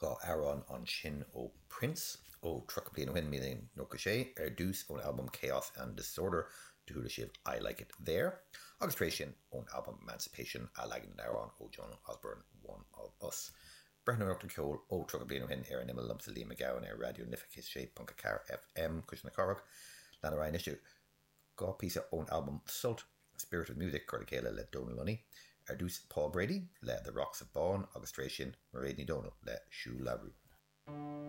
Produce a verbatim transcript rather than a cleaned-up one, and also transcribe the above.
Dhá amhrán ansin ó Prince ó tríocha bliain ó shin, míle nócha sé, ar dtús ón albam Chaos and Disorder do chuala sibh I Like It There, agus tar éis sin ón albam Emancipation athleagan den amhrán ó Joan Osborne One of Us. Breathnóireacht ar cheol ó tríocha bliain ó shin ar an imeall liomsa Liam Mac Gabhann ar Raidió na Life céad sé ponc a ceathair FM Cuisle na Cathrach. Lean ar aghaidh anois dhá phíosa ón albam Sult, Spirit of Music curtha le chéile le Donal Lunny. Ar dtús Paul Brady le The Rocks of Bawn agus tar éis sin Mairéad Ní Dhomhnaill le Siúl le Rún.